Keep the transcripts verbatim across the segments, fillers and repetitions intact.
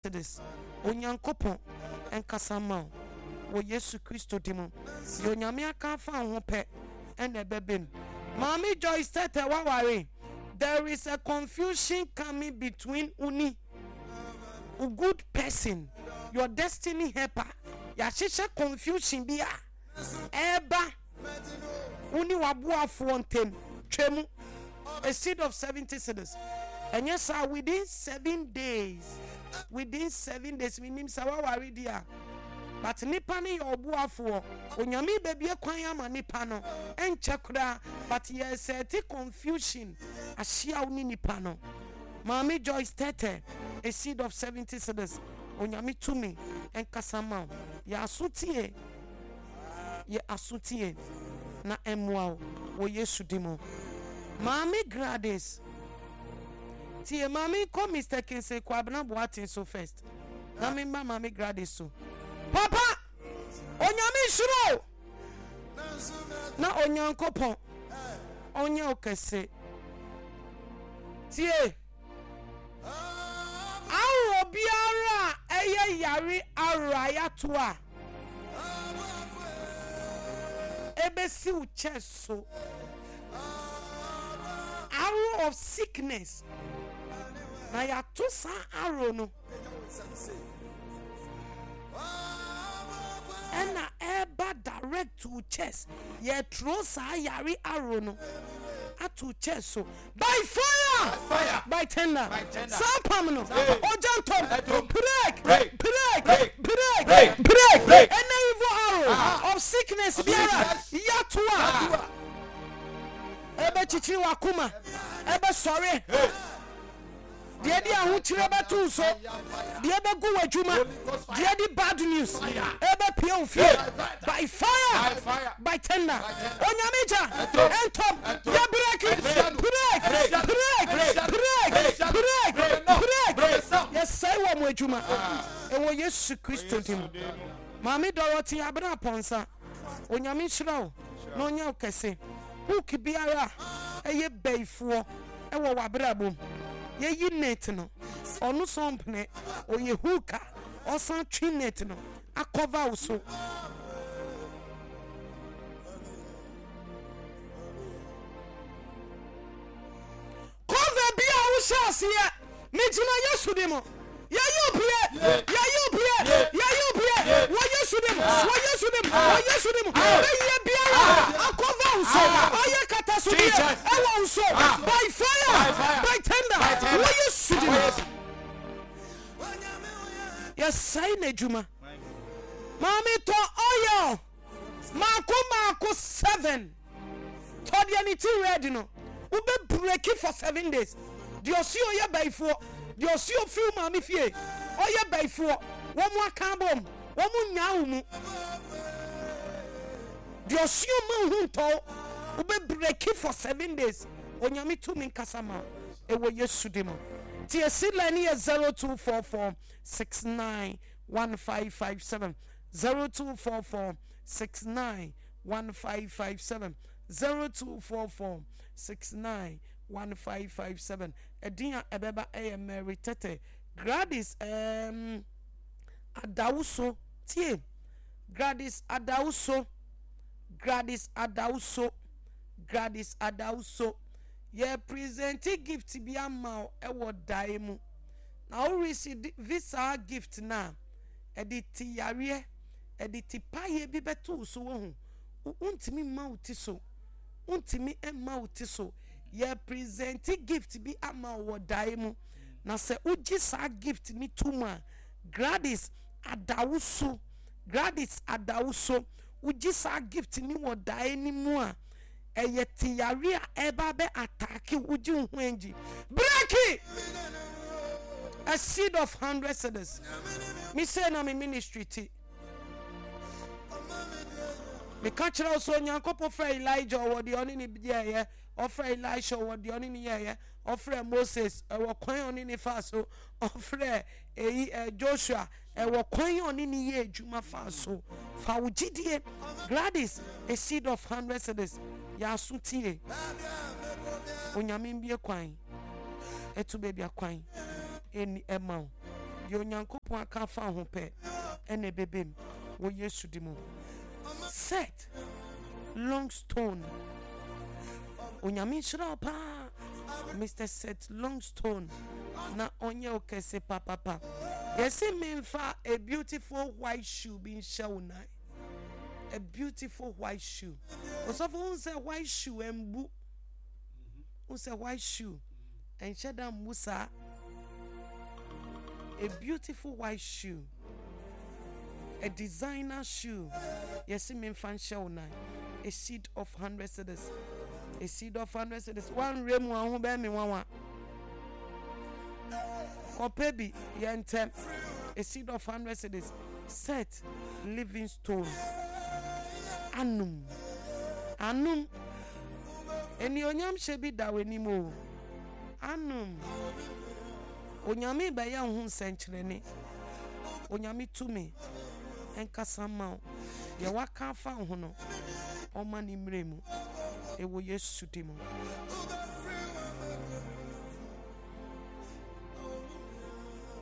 Cedis. Onyankopɔn nkasa mma wo wɔ Yesu Kristo din mu. Deɛ Onyame aka afa wo ho pɛ ɛna ɛbɛba mu. Maame Joyce Tete waware. There is a confusion coming between wo ne wo good person, your destiny helper. Yɛahyehyɛ confusion bi a ɛreba wo ne w'aboafoɔ ntam. Twa mu. A seed of seventy cedis. Ɛnyɛ saa, within seven days, within seven days, menim sɛ waware di a, but nipa no yɛ ɔboafoɔ. Onyame bɛbie kwan ama nipa no, ɛnkyɛ koraa, but yɛsɛte confusion ahyia wo ne nipa no. Maame Joyce Tete, a seed of seventy cedis. Onyame tumi nkasa ma wo. Yɛ aso tie. Yɛ aso tie na ɛmmoa wo wɔ Yesu din mu. Maame Gladys, tie ma me nkɔ Mister Kingsley Kwabena Boateng so first na me mma Maame Gladys so. Papa, Onyame nhyira wo na Onyankopɔn ɔnyɛ wo kɛse. Tie. Ahorow biara a ɛyɛ yare ahorow a yɛato a ebesi wo chest so. Arrow of sickness. Na yɛato saa arrow no. Ɛna ɛreba direct to wo chest. Yɛturo saa yare arrow no ato chest so. By fire! Fire! By tender! By tender. Saa pam no! Hey. Ogya ntɔm! Ɛtom. Break! Break. Break! Break. Break! Break. Break! Break. Any evil arrow Ah. of sickness Of biara sickness. yɛato a Ah. ɛbɛkyekyere w'akoma ɛbɛsɔre Hey. deɛ de ahokyerɛ bɛto wo so deɛ bɛgu w'adwuma deɛ de bad news ɛbɛpie wo fie by fire By fire. by tender Onyame gya Ɛtom. ɛntɔm Ɛtom. yɛ break Ɛnhyia no. break Ɛnhyia no. break Ɛnhyia no. break Ɛnhyia no. break Break no. break Break no. yɛsɛe wɔ mo adwuma ɛwɔ Yesu Kristo din mu. Maame Dorothy Abena Pɔnsa, Onyame nhyira wo na ɔnyɛ wo kɛse. Hook biara a ɛyɛ bayifoɔ ɛwɔ w'abrabɔ mu, yɛyi net no, ɔno so ɔmpene, ɔyɛ hook a ɔsan twe net no akɔva wo so. Cover bi a wohyɛ aseɛ, megyina Yesu din mu. Yɛyi wo pie, yɛyi wo pie, yɛyi wo pie wɔ Yesu din mu, wɔ Yesu din mu, wɔ Yesu din mu. Bɛyɛ biara akɔva wo so, ayɛ katasodeɛ ɛwɔ wo so by fire, by tender, wɔ Yesu din mu. Yɛsɛe n'adwuma. Maame tɔ oil maako maako seven. Tɔ deɛ ne ti red no, wobɛ breaki for seven days. Deɛ ɔsi ɔyɛ bayifoɔ, deɛ ɔsi ofiri wo maame fie ɔyɛ bayifoɔ, wɔn aka abom, wɔn nyaa wo mu. Deɛ ɔsi ɔma wo ho ntɔ wo, wobɛ breaki for seven days. Onyame tumi nkasa ma wo ɛwɔ Yesu din mu. Tie seed line no yɛ zero two four four six nine one five five seven, zero two four four six nine one five five seven, zero two four four six nine one five five seven. Ɛdin a ɛbɛba ɛyɛ Mary Tete. Gladys um, Adawuso, tie. Gladys Adawuso, Gladys Adawuso, Gladys Adawuso. Yɛ present gift bi ama wo ɛwɔ dae mu. Na wo receive saa gift na ɛde ti yareɛ, ɛde ti paeɛ bi bɛto wo so wɔ ho. Wontumi mma wo ti so. Wontumi mma wo ti so. Yɛ present gift bi ama wo wɔ dae mu. Na sɛ wogye saa gift ni to mu a, Gladys Adawuso, Gladys Adawuso, wogye saa gift ni wɔ dae ni mu a, ɛyɛ te yare a ɛba bɛ attack wogye wo ho angyi. Break a seed of hundred cedis. Me say na me ministry ti. Meka kyerɛ wo sɛ Onyankopɔn frɛ Elijah ɔwɔ deɛ ɔne ne yɛɛyɛ, ɔfrɛ Elisha ɔwɔ deɛ ɔne ne yɛɛyɛ, ɔfrɛ Moses ɛwɔ kwan a ɔne ne fa so, ɔfrɛ eyi ɛ Joshua ɛwɔ kwan a ɔne ne yɛ adwuma fa so. Fa wo gyidie. Gladys, a seed of hundred cedis. Yɛ aso tie. Onyame mbie kwan. Ɛto baabi akwan ɛni ɛma wo. Deɛ Onyankopɔn aka afa ho pɛ ɛna ɛbɛbɛ mu wɔ Yesu di mu. Seth Longstone, Onyame nhyira wo paa, Mister Seth Longstone, na ɔnyɛ wo kɛse papapa. Yɛsi memfa a beautiful white shoe bi nhyɛ wo nan. A beautiful white shoe. Osɔfo, hu sɛ white shoe ɛmbu. Hu sɛ white shoe ɛnhyɛ da mbu saa. A beautiful white shoe, a designer shoe. Yɛsi memfa nhyɛ wo nan. A seed of hundred cedis, a seed of hundred cedis. Wanwerɛ mu aho bɛɛ me nwanwa. Kɔpɛ bi yɛ ntɛm. A seed of hundred cedis. Seth Livingstone, anum anum enionyam hyɛ bi da w'anim o. Anum Onyame bɛyɛ wo ho nsɛnkyerɛnne. Onyame tumi nkasa ma wo. Deɛ waka afa wo ho no, ɔma ne mmerɛ mu ɛwɔ Yesu di mu.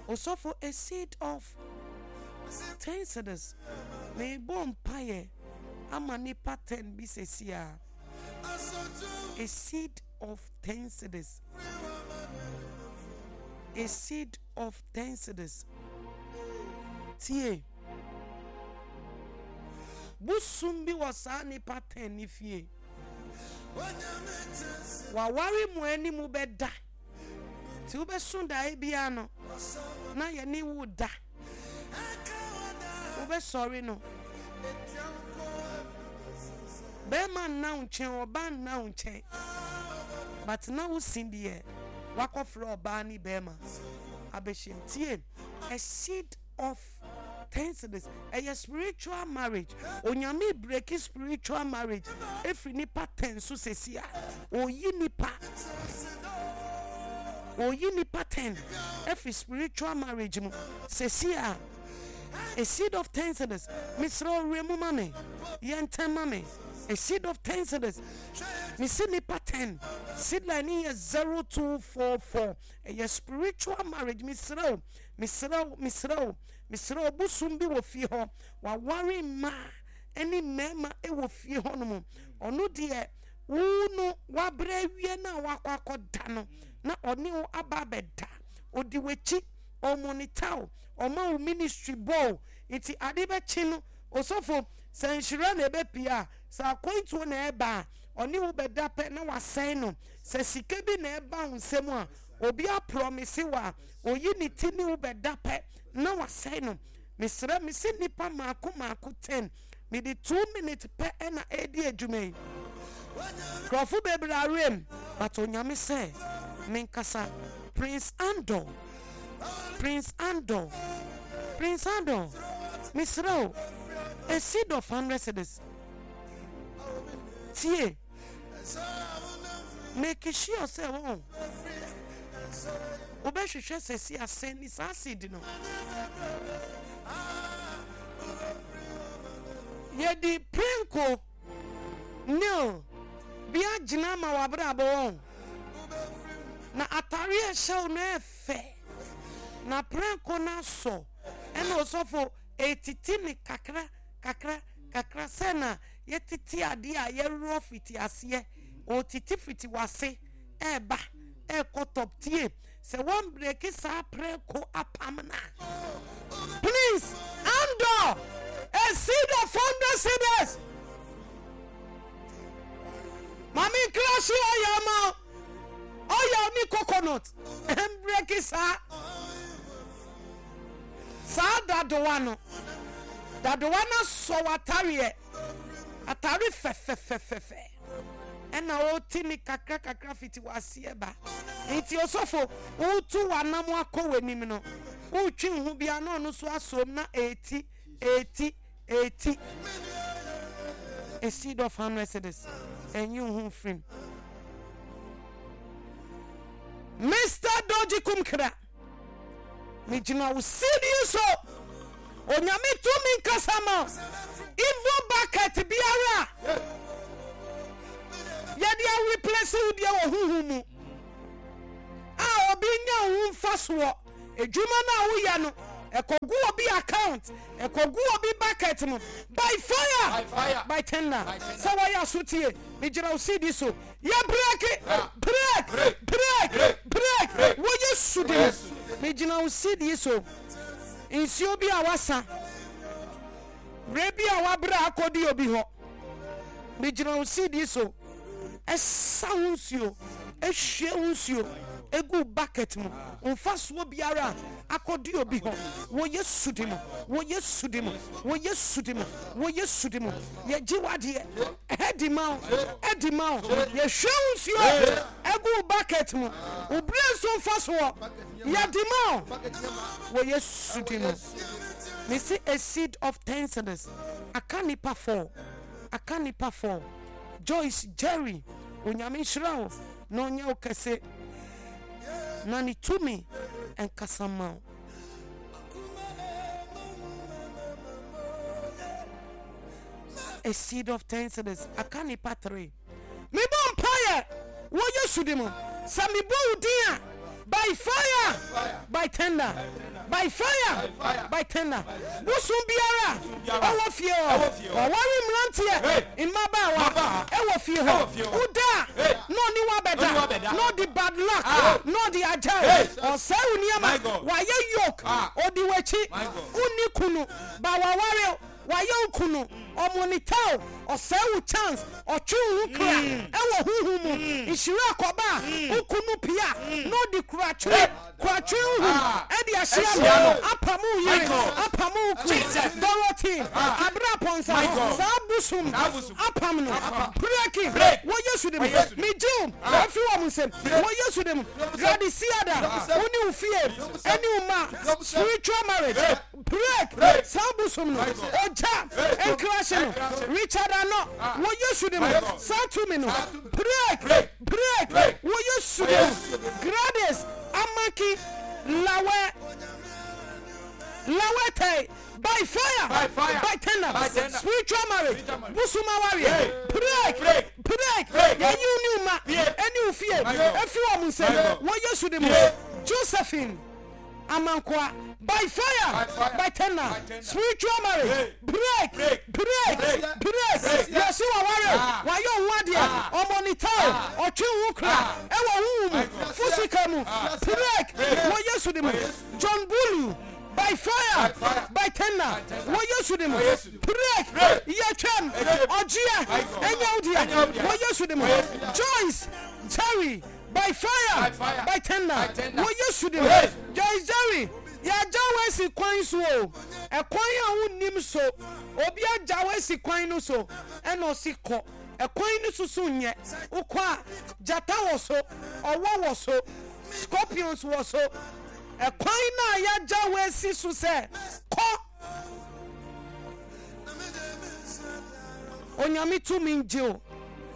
Osɔfo, a seed of ten cedis. Meebɔ mpaeɛ ama nipa ten bi sɛsi a. A seed of ten cedis, a seed of ten cedis. Tie, bosom bi wɔ saa nipa ten ne fie. Waware mu anim bɛda nti wobɛso daeɛ biara no na yɛne wo da. Wobɛsɔre no, bɛrima nna wo nkyɛn, ɔbaa nna wo nkyɛn, but na wosi deɛ wakɔfrɛ ɔbaa ne bɛrima abɛhyia. Tie, a seed of ten cedis. Ɛyɛ spiritual marriage. Onyame break spiritual marriage efiri nipa ten so sɛsi a oyi nipa oyi nipa ten efiri spiritual marriage mu sɛsi a. A seed of ten cedis. Mesrɛ ɔwerɛ mu ma me, yɛ ntɛm ma me. A seed of ten cedis. Mesi nipa ten. Seed line ni yɛ zero two four four. Ɛyɛ spiritual marriage. Mesrɛ wo, mesrɛ wo, mesrɛ wo, mesrɛ wo. Bosom bi wɔ fie hɔ, waware mmaa ɛne mmarima ɛwɔ fie hɔ nom. Ɔno deɛ, wo no wabrɛ awie no a wakɔ akɔda no na ɔne wo aba abɛda. Ɔdi w'akyi, ɔmonitor wo, ɔma wo ministry bɔɔ. Nti ade bɛkye no, osɔfo, sɛ nhyira na ɛbɛpie a, sɛ akwantuo na ɛba a, ɔne wo bɛda pɛ na wasɛn no. Sɛ sika bi na ɛba wo nsam a, obi apromise wo a, oyi ne ti ne wo bɛda pɛ na wasɛe no. Mesrɛ, mese nipa maako maako ten. Mede two minutes pɛ ɛna ɛredi adwuma yi. Nkurɔfo bebree awerɛ but Onyame sɛ menkasa. Prince Andor, Prince Andor, Prince Andor, mesrɛ wo, a seed of hundred cedis. Tie, make sure sɛ wɔn wobɛhwehwɛ sɛsi asɛn ni saa seed no. Yɛde prenko nail bi agyina ama w'abrabɔ wɔn na atare a ɛhyɛ wo no ɛfɛ na prenko no asɔ ɛna ɔsɔfo etiti ne kakra kakra kakra sɛ na yɛtete adeɛ a yɛworɔ fiti aseɛ. Ɔtiti fiti wase ɛɛba ɛɛkɔ top. Tie, sɛ wɔn break saa prɛko apam na please Andor, a seed of hundred cedis. Maame nkrasi ɔyɛ ama ɔyɛ ne coconut mbreak saa saa dadowa no. Dadowa no asɔ w'atareɛ, atare fɛfɛfɛfɛ, ɛna ɔti ne kakra kakra fiti w'aseɛ ba. Nti osɔfo, wotu w'anam akɔ w'anim no, wotwi ho bia na ɔno nso asom na eti eti eti. A seed of hundred cedis. Ɛnyi wo ho mfirim. Mister Doji Kumkra, megyina wo seed yi so. Onyame tumi nkasa ma evil bucket biara yɛde areplace wo deɛ wɔ huhu mu a obi nya wo ho mfa soɔ. Edwuma no a woyɛ no, ɛkɔgu obi account, ɛkɔgu obi bucket mu. By fire, By fire. by tender. By tender. Sɛ wɔyɛ asotie, megyina wo C D so. Yɛ break, break, Break. break, Break. break. Break. Wɔyɛ sudi. Yesu. Megyina wo C D so. Nsuo bi a wasa, berɛ bi a wabrɛ akɔdi obi hɔ, megyina wo C D so, ɛsa wo nsuo, ehwie wo nsuo egu bucket mu, mfasoɔ biara akɔdi obi hɔ, wɔ Yesu di mu, wɔ Yesu di mu, wɔ Yesu di mu, wɔ Yesu di mu. Yɛgye wadeɛ ɛdi ma wo, ɛdi ma wo. Yɛhwie wo nsuo egu bucket mu, obere nso mfasoɔ yɛdi ma wo wɔ Yesu di mu. Mesi a seed of ten cedis, aka nipa four, aka nipa four. Joyce Jerry, Onyame nhyira wo na ɔnyɛ wo kɛse na ne tumi nkasa ma wo. A seed of ten cedis, aka nipa three. Mebɔ mpaeɛ wɔ Yesu di mu sɛ mebɔ wo din a, by fire, by tender, by fire, by tender, bosom biara ɛwɔ fie hɔ, ɔware mmeranteɛ, mmabaawa ɛwɔ fie hɔ, woda a na ɔne wabɛda na ɔde bad luck na ɔde agya wo, ɔsɛe wo nneɛma, wayɛ yoke, ɔde w'akyi. Wonni kunu ba waware, wayɛ wo kunu, ɔmonitor wo, ɔsɛe wo chance, ɔtwe wo ho kra ɛwɔ huhu mu. Nhyira akɔba a wo kunu pia na ɔde kuratwe kuratwe huhu ɛde ahyia no, apam wo yere, apam wo kunu. Dorothy abere apɔnsa, saa bosom apam no, breaking wɔ Yesu de mu. Megye wo afi wɔ mo nsam wɔ Yesu de mu. Gradisiada, wo ne wo fie ɛne wo ma, spiritual marriage break, saa bosom no, ogya nkrahye no. Richard ano, wɔ Yesu de mu, saa tumi no, break, break wɔ Yesu de mu. Gladys Amaki Lawe Lawete, by fire, By fire. by tender, By tender. spiritual marriage, Spiritual marriage. bosom awareɛ, break, break. Break. Yɛyi wo ne wo ma Yeah. ɛne wo fie My God. ɛfi wɔ mo nsam My God. wɔ Yesu de mu. Yeah. Josephine Amankoa, by fire, By fire. by tender, By tender. spiritual marriage, Hey. break, Break. break, Break. break. Break. Yɛsi waware, Ah. wayɛ wo adeɛ, Ah. ɔmonitor, Ah. ɔtwe wo kra Ah. ɛwɔ wo mu, My God. fusika mu, Ah. break Break. wɔ Yesu de mu. John Bulu, by fire, By fire. by tender, By tender. wɔ Yesu de mu, Wɔ Yesu de mu. break. Break. Yɛtwam, Yɛtwam. ɔgyeɛ My God. ɛnyɛ wo Ɛnyɛ deɛ wo deɛ. wɔ Yesu de mu. Wɔ Yesu de mu. Joyce Jerry, by fire, By fire. by tender, By tender. wɔ Yesu de mu. Yes. Joyce Jerry, yɛagya wo asi kwan so o, ɛkwan a wonnim so, obi agya wo asi kwan no so, ɛna ɔsi kɔ ɛkwan no so so nyɛ wokɔ a, gyata wɔ so, ɔwɔ wɔ so, scorpions wɔ so. Ɛkwan no a yɛagya wo asi so sɛ kɔ, Onyame tumi ngye o.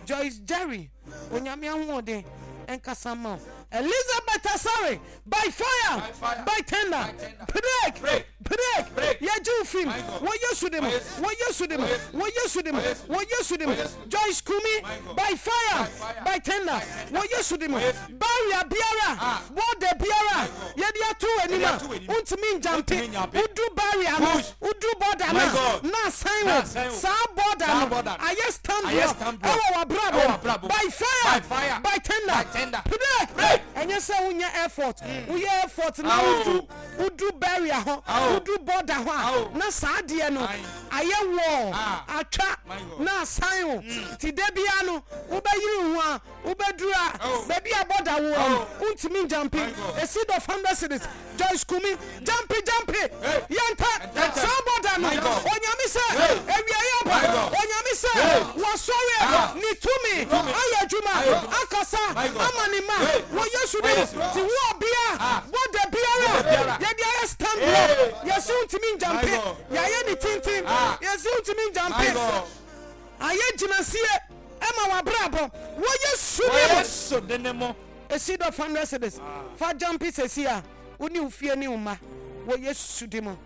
Joyce Jerry, Onyame ahoɔden ɛnkasa ma wo. Elizabeth Asare, by fire, By fire. by tender, By tender. break, Break. break. Break. Yɛgye wo fim My God. wɔ Yesu de mu, Wɔ Yesu. wɔ Yesu de mu, Wɔ Yesu. wɔ Yesu de mu, Wɔ Yesu. wɔ Yesu de mu. Wɔ Yesu. Joyce Kumi, My God. by fire, By fire. by tender, By tender. wɔ Yesu de mu. Wɔ Yesu. Barrier biara, Ah. border biara My God. yɛde ato w'anim Yɛde a ato w'anim. wontumi njumpe, Wontumi njumpe. wodu barrier no, Push. wodu border My no, God. na asan Na wo. asan wo. Saa border Saa no border no. ayɛ stand Ayɛ block stand block. ɛwɔ w'abrabɔ Ɛwɔ w'abrabɔ. by fire, By fire. by tender, By tender. break. Break. Ɛnyɛ sɛ wonya effort, woyɛ effort na Awo. wodu wodu barrier hɔ, Awo. wodu border hɔ a, Awo. na saa adeɛ no Aye. ayɛ wall Ah. atwa My God. na asan wo. Nti da bia no wobɛyere wo ho a, wobɛduru a Oh. baabi a border wɔ no, Oh. wontumi njumpe. My God. A seed of hundred cedis, Joyce Kumi, jumpe, jumpe. Hey. Yɛnta Ntɛntɛm. saa border no. My God. Onyame sɛ Hey. awiayɛ My aba. God. Onyame sɛ Hey. wɔsɔre Ah. ne tumi Tumi. ayɛ adwuma, Ayɛ adwuma. akasa My God. ama ne ma Hey. wɔ Yesu Wɔ de mu. Yesu. Nti wo ɔbea, Ah. border biara Border biara. yɛde ayɛ stand Hey. block, yɛsi wontumi njumpe, My God. yɛayɛ ne tenten, Ah. yɛsi wontumi My njumpe, God. ayɛ gyinasie ɛma wabrabɔ wɔ Yesu Wɔ de mu. Yesu de mu. A seed of hundred cedis, fa jumpe sɛsi a wo ne wo fie ne wo ma wɔ Yesu de mu.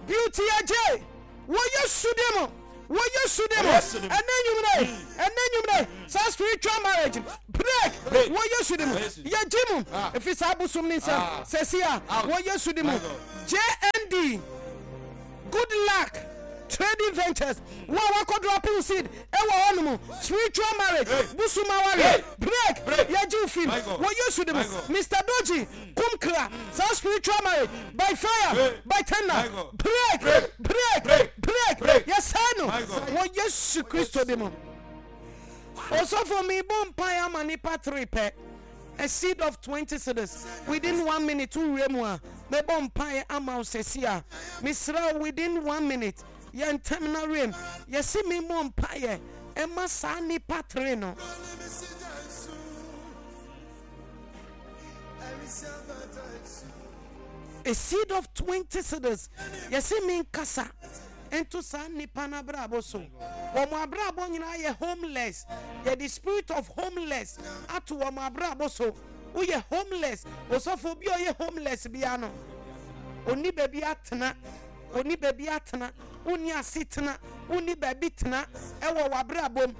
Beauty agye wɔ Yesu de mu. Wɔ Yesu din mu. Ɛnɛ anwummerɛ yi, ɛnɛ anwummerɛ yi, saa spiritual marriage break wɔ Yesu din mu. Yɛgye mu ɛfiri saa abosom ne nsam sɛsi a wɔ Yesu din mu. J N D Good Luck Trading Ventures, wo a wakɔ dropping seed ɛwɔ hɔ nom, spiritual marriage, bosom awareɛ, break, yɛgye wo firi mu wɔ Yesu din mu. Mister Doji Kumkra, saa spiritual marriage, by fire, by thunder, break, break, break, yɛsɛe no wɔ Yesu Kristo din mu. Osofo, mebɔ mpae ama nipa three pɛ. A seed of twenty cedis within one minute wowie mu a mɛbɔ mpaeɛ ama wo sɛsi a mesrɛ wo within one minute yɛ ntɛm na wiem yɛse me mmɔ mpaeɛ ɛma saa nipa three no. A seed of twenty cedis yɛse me nkasa nto saa nnipa no abrabɔ so. Wɔn abrabɔ nyinaa yɛ homeless. Yɛde spirit of homeless ato wɔn abrabɔ so. Woyɛ homeless. Osɔfo, obi a ɔyɛ homeless biara no, onni baabi atena. Onni baabi atena. Wonni asetena. Wonni baabi tena ɛwɔ w'abrabɔ mu.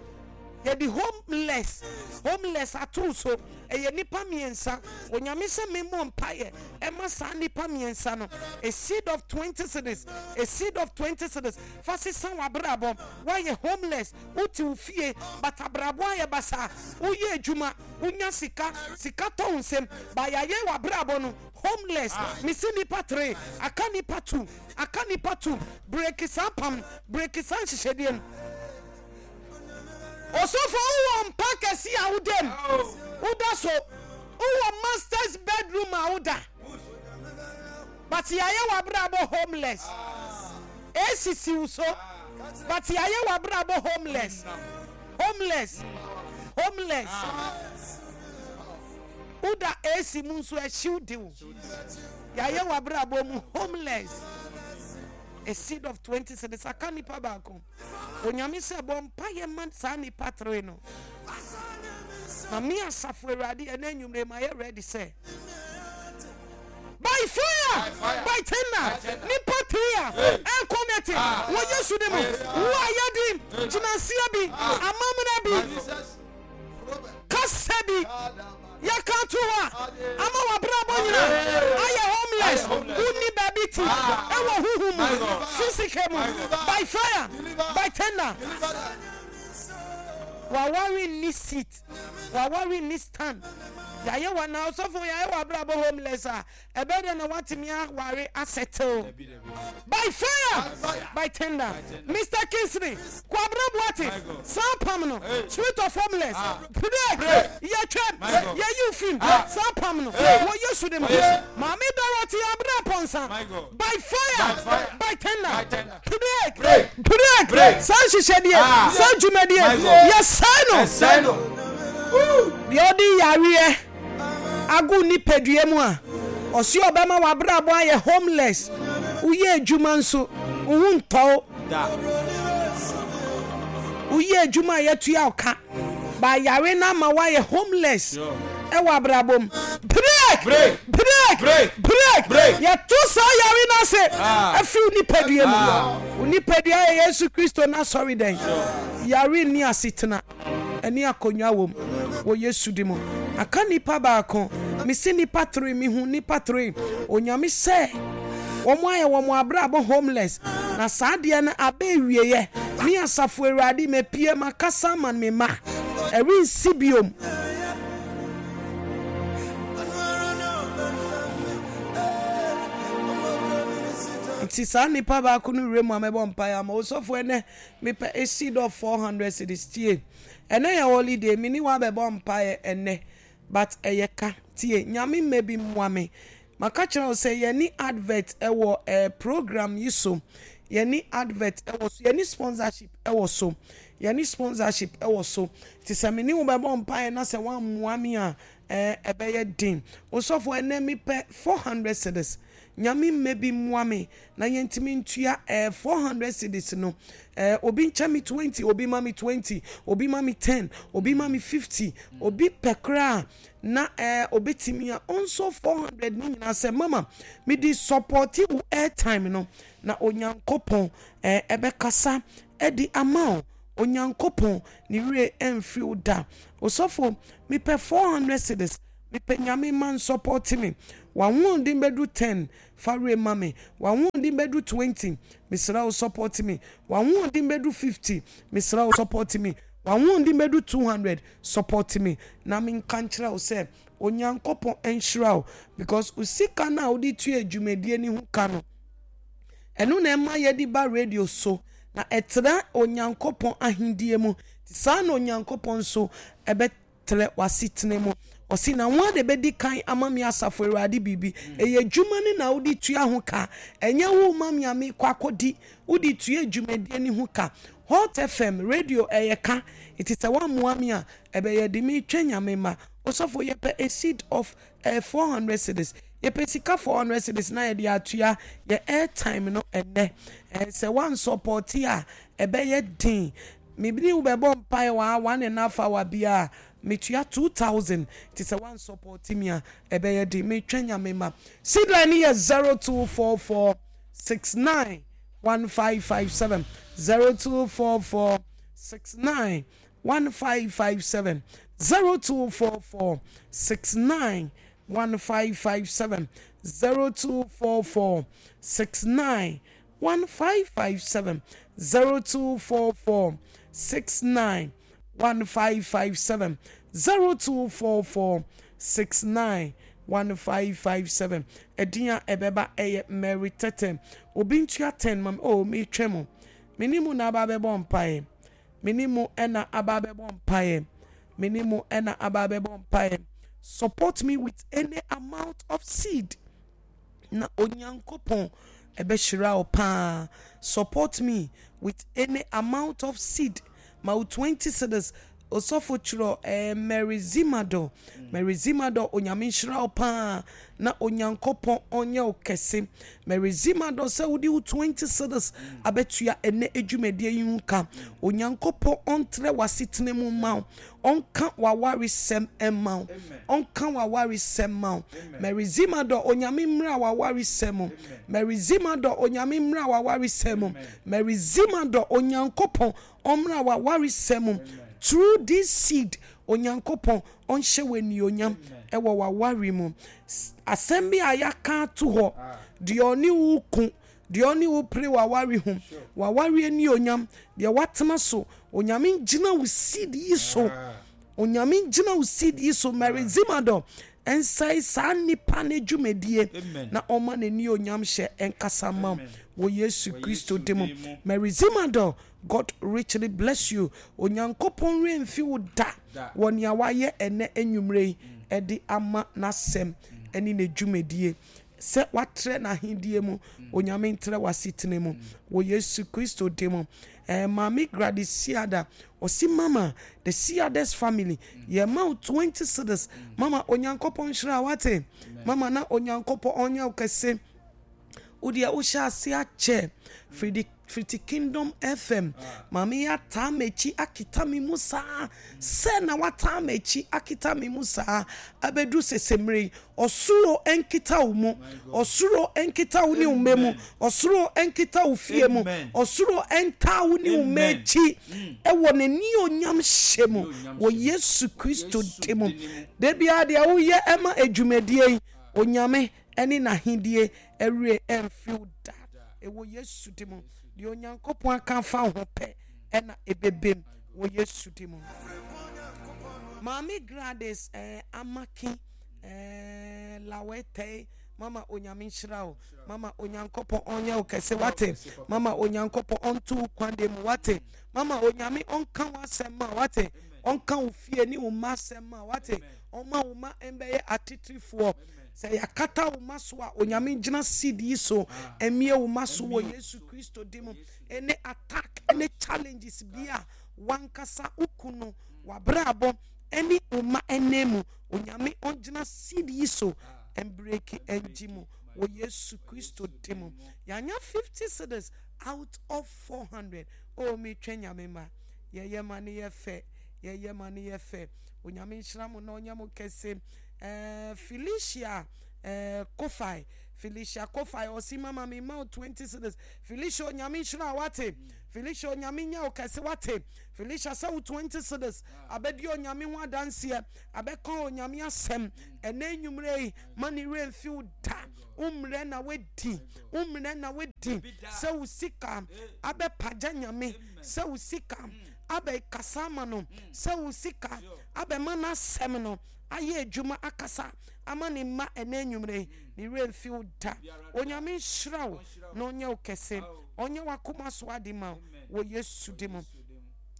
Yɛde homeless, homeless ato wo so. Ɛyɛ nnipa mmiɛnsa. Onyame sɛ memmɔ mpaeɛ ɛma saa nnipa mmiɛnsa no. A seed of twenty cedis, a seed of twenty cedis. Fa sesa w'abrabɔ. Woayɛ homeless, wote wo fie but abrabɔ ayɛ basaa. Woyɛ adwuma, wonya sika, sika tɔ wo nsam but yɛayɛ w'abrabɔ no homeless. Mese nnipa three, aka nnipa two, aka nnipa two. Break saa apam, break saa nhyehyɛdeɛ no. Osofo, wowɔ mpa kɛse a woda mu, woda so. Wowɔ master's bedroom a woda. But yɛayɛ w'abrabɔ homeless. Esisi wo so. But yɛayɛ w'abrabɔ homeless. Homeless. Homeless. Woda A C mu nso ɛhyew de wo. Yɛayɛ w'abrabɔ mu homeless. A seed of twenty cedis aka nipa baako. Onyame sɛ bɔ mpaeɛ ma saa nipa three no. Na me asafo Awurade ɛnɛ anwummere ma yɛ ready sɛ by fire, by thunder, nipa three a ɛnkɔ nɛte wɔ Yesu de mu. Wo a yɛde gyinaseɛ bi, amammerɛ bi, kasa bi yɛka to hɔ a ama w'abrabɔ nyina ayɛ homeless, wonni baabi ti ɛwɔ huhu mu, physical mu, by fire, by thunder. Waware nni seat, waware nni stand. Yɛayɛ wa na ɔsɔfo yɛayɛ w'abrabɔ homeless a, ɛbɛyɛ dɛ na watumi aware asettle. By fire, by thunder. Mister Kingsley, Kwabena Boate, saa apam no, spirit of homeless, break, yɛtwam, yɛyi wo fim, saa apam no, wɔ Yesu de mu. Maame Dorothy Abena Pɔnsa, by fire, by thunder, break, break, saa nhyehyɛdeɛ, saa dwumadie, yɛsɛe no. Deɛ ɔde yareɛ agu nipadua mu a, ɔse ɔbɛma w'abrabɔ ayɛ homeless. Woyɛ adwuma nso, wo ho ntɔ wo. Woyɛ adwuma a yɛtua wo ka, ba yare no ama woayɛ homeless ɛwɔ abrabɔ mu. Break! Break! Break! Yɛto saa yare no ase afiri wo nipadua mu. Wo nipadua yɛ Yesu Kristo n'asɔredan. Yare nni asetena. Ɛne akonnwa wom wɔ Yesu di mu. Aka nipa baako, mese nipa three, mehu nipa three. Onyame sɛ wɔn ayɛ wɔn abrabɔ homeless, na saa adeɛ no aba awieɛ. Me asafo Awurade mapue makasa ama me mma, ɛrensi biom. Nti saa nipa baako no wura mu a mɛbɔ mpaeɛ ama osɔfo ɛnɛ. Mepɛ a seed of four hundred cedis tie ɛnɛ yɛ holiday me ne wo abɛbɔ mpaeɛ ɛnɛ but ɛyɛ ka tie Nyame mma bi mmoa me maka kyerɛ wo sɛ yɛne advert ɛwɔ eh, program yi so yɛne advert ɛwɔ so yɛne sponsorship ɛwɔ so yɛne sponsorship ɛwɔ so te sɛ me ne wo bɛbɔ mpaeɛ na sɛ woammoa me a eh, ɛbɛyɛ den osɔfo ɛnɛ mepɛ four hundred cedis Nyame mma bi mmoa me na yɛntumi ntua eh, four hundred cedis no eh, obi nkyɛ me twenty, obi ma me twenty, obi ma me ten, obi ma me fifty, obi pɛ koraa na eh, obetumi a ɔnsɔ four hundred ne nyinaa sɛ mama mede supporti wo airtime no na Onyankopɔn eh, ɛbɛkasa de ama wo. Onyankopɔn ne werɛ ɛmfiri wo da. Osɔfo, mepɛ four hundred cedis. Mepɛ Nyame ma nsɔpɔte me. W'ahoɔden bɛdu ten, fa werɛ ma me. W'ahoɔden bɛdu twenty, mesrɛ wo sɔpɔte me. W'ahoɔden bɛdu fifty, mesrɛ wo sɔpɔte me. W'ahoɔden bɛdu two hundred, sɔpɔte me. Na menka nkyerɛ wo sɛ Onyankopɔn nhyira wo, because wo sika no a wode tua dwumadie no ho ka no, ɛno na ɛma yɛde ba radio so na ɛtra Onyankopɔn ahendie mu. Saa na Onyankopɔn nso ɛbɛtrɛ w'asetena mu. Ɔsi na wɔn de bɛdi kan ama me asafo Awurade biribi. Ɛyɛ adwuma no na wode tua ho ka. Ɛnyɛ wo ma me a mekɔ akɔdi. Wode tua dwumadie no ho ka. Hot F M radio ɛyɛ ka. Nti sɛ woammoa me a, ɛbɛyɛ de metwa Nyame ma. Osɔfo, yɛpɛ a seed of uh, four hundred cedis. Yɛpɛ sika four hundred cedis na yɛde atua yɛ airtime no ɛnɛ. Eh, sɛ woansɔpɔte a, ɛbɛyɛ den. Mebini wo bɛbɔ mpae wɔ one and a half hour bi a metua two thousand. Nti sɛ woansɔpɔte me a, ɛbɛyɛ den. Metwa Nyame ma. Seed line no yɛ zero two four four six nine one five five seven, zero two four four six nine one five five seven, zero two four four six nine one five five seven, zero two four four six nine one five five seven, zero two four four six nine one five five seven, zero two four four six nine one five five seven. Ɛdin a ɛbɛba ɛyɛ Mary Tete. Obi ntua ten ma me. Oh, metwa mu. Me mu na aba abɛbɔ mpaeɛ. Me ne mu ɛna aba abɛbɔ mpaeɛ. Me ne mu ɛna aba abɛbɔ mpaeɛ. Support me with any amount of seed na Onyankopɔn ɛbɛhyira wo paa. Support me with any amount of seed. Ma wo twenty cedis. Osɔfo, twerɛ ɛɛ Mary Zimado, Mary Zimado. Onyame nhyira wo paa na Onyankopɔn ɔnyɛ wo kɛse. Mary Zimado, sɛ wode wo twenty cedis abɛtua ɛnɛ adwumadie yi ho ka, Onyankopɔn ɔntrɛ w'asetena mu ma wo, ɔnka w'awaresɛm ma wo, ɔnka w'awaresɛm ma wo. Mary Zimado, Onyame mmerɛ a w'awaresɛm mu. Mary Zimado, Onyame mmerɛ a w'awaresɛm mu. Mary Zimado, Onyankopɔn ɔmmerɛ a w'awaresɛm mu. Through this seed, Onyankopɔn ɔnhyɛ wɔ anuonyam ɛwɔ w'aware mu. Asɛm bi a yɛaka ato hɔ deɛ, ɔne wo ko deɛ, ɔne wo pere w'aware ho, w'aware anuonyam deɛ watena so, Onyame ngyina wo seed yi so. Onyame ngyina wo seed yi so, Mary Zimado, ɛnsɛe saa nipa ne dwumadie na ɔma n'ani onyam hyɛ ɛnkasa ma wɔ Yesu Kristo din mu. Mary Zimado, God richly bless you. Onyankopɔn remfi wo da wɔ nea wayɛ ɛnɛ anwummerɛ yi ɛde ama n'asɛm ɛne ne dwumadie sɛ watrɛ n'ahendie mu. Onyame ntrɛ w'asetena mu wɔ Yesu Kristo din mu. ɛɛ maame Gladys Siada ɔsi, "Mama, the Siades family, yɛma wo twenty cedis." Mama, Onyankopɔn nhyira wate. Mama, na Onyankopɔn ɔnyɛ wo kɛse. Wodeɛ wohyɛ ase akyɛ firi fiti Kingdom F M. Maame yi ataa m'akyi akita me mu saa sɛ na wataa m'akyi akita me mu saa abɛduru sɛsɛmmerɛ yi. Ɔsoro nkita wo mu, ɔsoro nkita wo ne wo mma mu, ɔsoro nkita wo fie mu, ɔsoro ntaa wo ne wo mma akyi ɛwɔ n'ani onyam hyɛ mu wɔ Yesu Kristo din mu. Da biara deɛ woyɛ ɛma adwumadie yi, Onyame ɛne n'ahendie ɛwerɛ ɛmfiri da ɛwɔ Yesu din mu. Deɛ Onyankopɔn aka afa ho pɛ ɛna ɛbɛbɛm wɔ Yesu din mu. Maame Gladys ɛɛ Amaki ɛɛ Lawɛtɛe, mama, Onyame nhyira wo. Mama, Onyankopɔn ɔnyɛ wo kɛse wate. Mama, Onyankopɔn ɔnto wo kwan de mu wate. Mama, Onyame ɔnka wo asɛm ma wate, ɔnka wo fie ne wo mma asɛm ma wate, ɔma wo ma mbɛyɛ atitirifoɔ. Sɛ yɛakata wo ma so a, Onyame gyina seed yi so mmie wo ma so wɔ Yesu Kristo din mu. Ɛne attack ɛne challenges bi a wankasa wo kunu wabrabɔ ɛne wo ma ɛnɛ mu, Onyame ɔngyina seed yi so mbreak ɛngye mu wɔ Yesu Kristo din mu. Yɛanya fifty cedis out of four hundred. O, metwɛ Nyame ma yɛyɛ ma ne yɛ fɛ, yɛyɛ ma ne yɛ fɛ. Onyame nhyira mo na ɔnyɛ mo kɛse. ɛɛ Felicia ɛɛ Kofai, Felicia Kofa ɔsi mama mi ma twenty cedis. Felicia, Onyame nhyira wate. Felicia, Onyame nya okɛse wate. Felicia, sɛ wo twenty cedis abɛdi Onyame ho adanseɛ, abɛka Onyame asɛm ɛnɛ nnwummerɛ yi, ma ne werɛ mfi wo da. Wommerɛ na wadi, wommerɛ na wadi sɛ wo sika abɛpagya Nyame, sɛ wo sika abɛkasa ama no, sɛ wo sika abɛma n'asɛm no ayɛ adwuma akasa ama ne mma ɛnɛ nnwummerɛ yi, ne werɛ mfi wo da. Onyame nhyira wo na ɔnyɛ wo kɛse, ɔnyɛ w'akoma so ade ma wo wɔ Yesu di mu.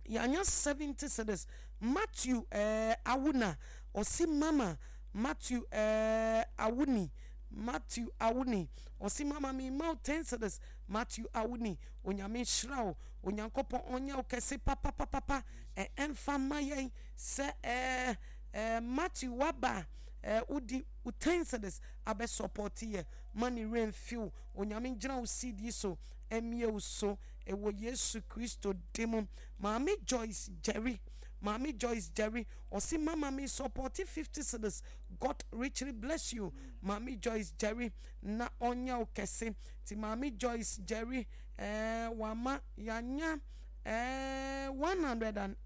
Yɛanya seventy cedis. Matthew eh, Awuna ɔsi mama. Matthew eh, Awuni, Matthew Awuni ɔsi mama mi ma wo ten cedis. Matthew Awuni, Onyame nhyira wo, Onyankopɔn ɔnyɛ wo kɛse papapapapa. Ɛ ɛmfa ma yɛn sɛ ɛɛ ɛɛ Matthew waba ɛɛ wodi wo ten cedis abɛ support yɛ, ma ne werɛ mfi wo. Onyame gyina wo seed yi so ɛmie wo so ɛwɔ Yesu Kristo di mu. Maame Joyce Jerry, Maame Joyce Jerry ɔsi mama mi support fifty cedis. God richly bless you, Maame Joyce Jerry, na ɔnyɛ wo kɛse. Ti Maame Joyce Jerry ɛɛ wama yanya ɛɛ one hundred and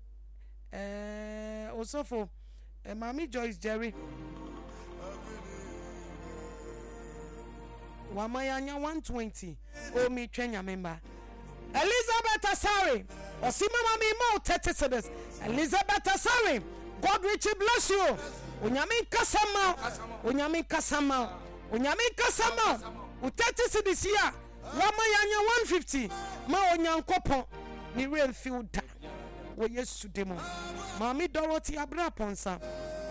ɛɛ osofo ɛɛ Maame Joyce Jerry wama yanya one twenty. O mi twɛ Nyame mba. Elizabeth Asare ɔsi mama mi ma wo thirty cedis. Elizabeth Asare, God richly bless you. Onyame nkasa ma wo, Onyame nkasa ma wo, Onyame nkasa ma wo. Wo thirty cedis yi a wama yanya one fifty ma Onyankopɔn ne werɛ mfi wo da wɔ Yesu di mu. Maame Dorothy Abena Pɔnsa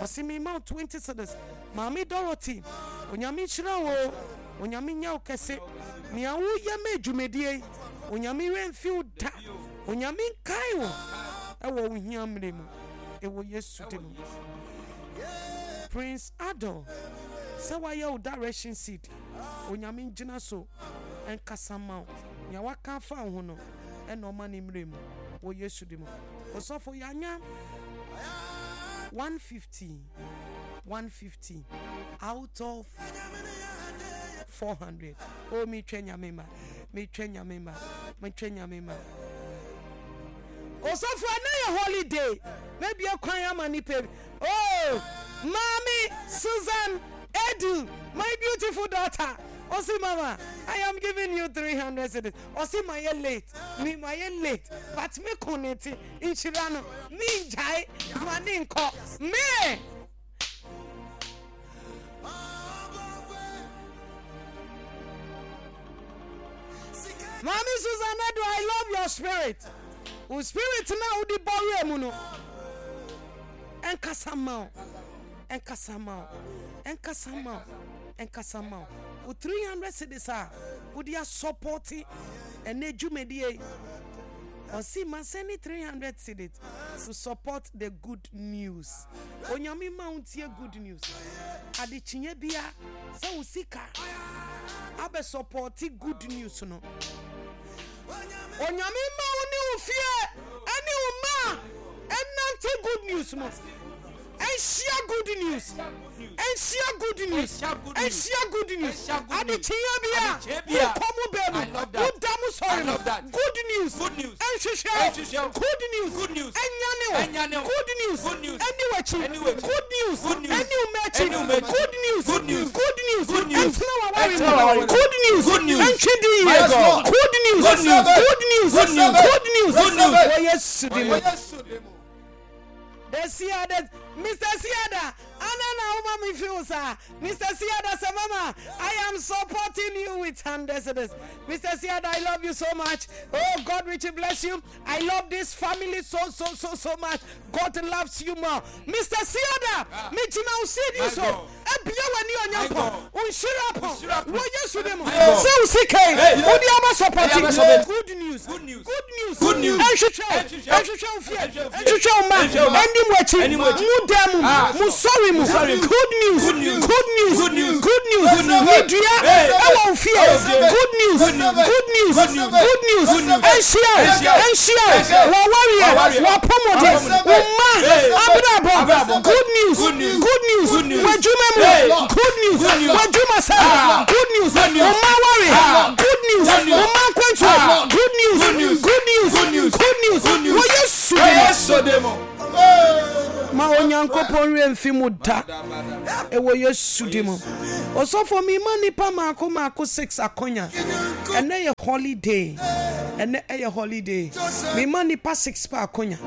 ɔsi mi ma wo twenty cedis. Maame Dorothy, Onyame nhyira wo, Onyame nya wo kɛse. Nea woyɛ ma adwumadie yi, Onyame werɛ mfi wo da. Onyame nkae wo ɛwɔ wo hia mmerɛ mu ɛwɔ Yesu di mu. Prince Adol, sɛ wayɛ wo direction seed, Onyame ngyina so ɛnkasa ma wo. Nea waka afa wo ho no ɛna ɔma ne mmerɛ mu wɔ Yesu di mu. Osɔfo, yɛanya one fifty, one fifty out of four hundred. Oh, mi twɛ Nyame ma, mi twɛ Nyame ma, mi twɛ Nyame ma. Osɔfo, ɛnɛ yɛ holiday, maybe kwan ama nipa bi. Oh, Mommy Susan Edu, my beautiful daughter. Osi mama, I am giving you three hundred cedis. Osi ma ye late, me ma ye late, but me koneti nhyira no, me njai, ma ne nkɔ, me. Mommy Susan Edu, I love your spirit. Wo spirit na wodi bɔwerɛ mu no, ɛnkasa ma wo, ɛnkasa ma wo, ɛnkasa ma wo, ɛnkasa ma wo. Wo three hundred cedis a wode asɔpɔte ɛnɛ dwumadie, ɔsi ma send three hundred cedis to support the good news. Onyame ma wo ntie good news. Adekyeɛ bia sɛ wo sika abɛ supporte good news no. Onyame ma wo ne wo fie ɛne wo ma ɛnante good news mu. Ɛnhyia good news. Ɛnhyia good news. Ɛnhyia good news. Adekyeɛ bia wokɔ mu bɛ mu, woda mu sɔre mu. Good news. Ɛnhwehwɛ good news. Ɛnyane wo. Good news. Ɛni w'akyi. Good news. Ɛni wo m'akyi. Good news. Good news. Ɛntena w'aware mu. Good news. Ɛntwe di yie. Good news. Good news. Good news. Wɔ Yesu di mu. The Siada, Mister Siada, Anna na uma me feel sir. Mister Siada, say mama, I am supporting you with hundreds of this. Mister Siada, I love you so much. Oh, God richly bless you. I love this family so, so, so, so much. God loves you more. Mister Siada, me jina usi you so. Ebia wani onyampo. Unshira po. Wo Yesu demo. Se usike. Udi ama supporting. Good news. Good news. Good news. news. Good news. Ɛnhwehwɛ wo. Ɛnhwehwɛ wo. Ɛnhwehwɛ wo fie. Ɛnhwehwɛ wo fie. Ɛnhwehwɛ wo mma. Ɛnhwehwɛ wo mma. Ɛnni mo akyi. Ɛnni mo akyi. Mo dan mu. Ah. Mo sɔre mu. Mo sɔre mu. Good news. Good news. Good news. Good news. Good news. Good news. Medua Hey. ɛwɔ wo fie. Ɛwɔ fie. Good news. Good news. Good news. Good news. Good news. Good news. Ɛnhyia wo. Ɛnhyia wo. Ɛnhyia wo. Ɛnhyia wo. W'awareɛ. W'awareɛ. W'apɔmuden. W'apɔmuden. Wo mma. Hey. Abrabɔ. Abrabɔ. Good news. Good news. Good news. Good news. W'adwuma mu. Hey. Good news. Good news. W'adwuma sɛ. Ah. Good news. Good news. Wo mma aware. Ah. Good news. Good news. Wo mma akwantuo. Ah. Good news. Good news. Good news. Good news. Good news. Good news. Wɔ Yesu Wɔ din mu. Yesu din mu. Ma Onyankopɔn werɛ mfi mu da ɛwɔ Yesu di mu. Ɔsɔfo, mema nipa maako maako six akonya. Ɛnɛ yɛ holiday, ɛnɛ ɛyɛ holiday. Mema nipa six pa akonya.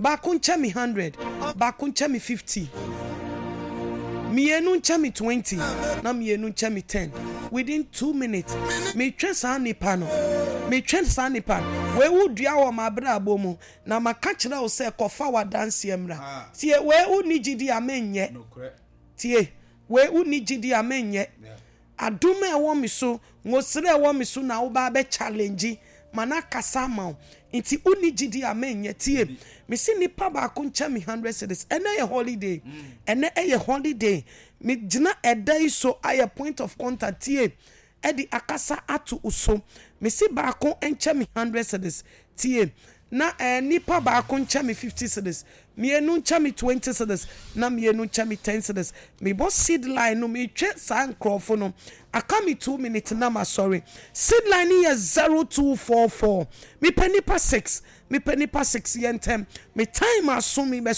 Baako nkyɛ me hundred, baako nkyɛ me fifty, mmienu nkyɛ me twenty, na mmienu nkyɛ me ten. Within two minutes, metwɛ saa nipa no, metwɛ saa nipa no. Wei wo dua wɔ m'abrabɔ mu na maka kyerɛ wo sɛ kɔfa w'adanseɛ mmra. Tie, wei wonni gyidi a menyɛ. Tie, wei wonni gyidi a menyɛ. Adom a ɛwɔ me so, ngosere a ɛwɔ me so na woba bɛ challenge ma na kasa ama wo, nti wonni gyidi a menyɛ. Tie, mesi nipa baako nkyɛ me hundred cedis. Ɛnɛ yɛ holiday, ɛnɛ ɛyɛ holiday. Megyina ɛda yi so ayɛ point of contact. Tie, ɛde akasa ato wo so. Mesi baako nkyɛ me hundred cedis. Tie, na ɛɛ nipa baako nkyɛ me fifty cedis, mmienu nkyɛ me twenty cedis, na mmienu nkyɛ me ten cedis. Mebɔ seed line no, metwe saa nkurɔfo no. Aka me two minutes na ma sɔre. Seed line no yɛ zero two four four. Mepɛ nipa six, mepɛ nipa six. Yɛ ntɛm, me time aso, me bɛ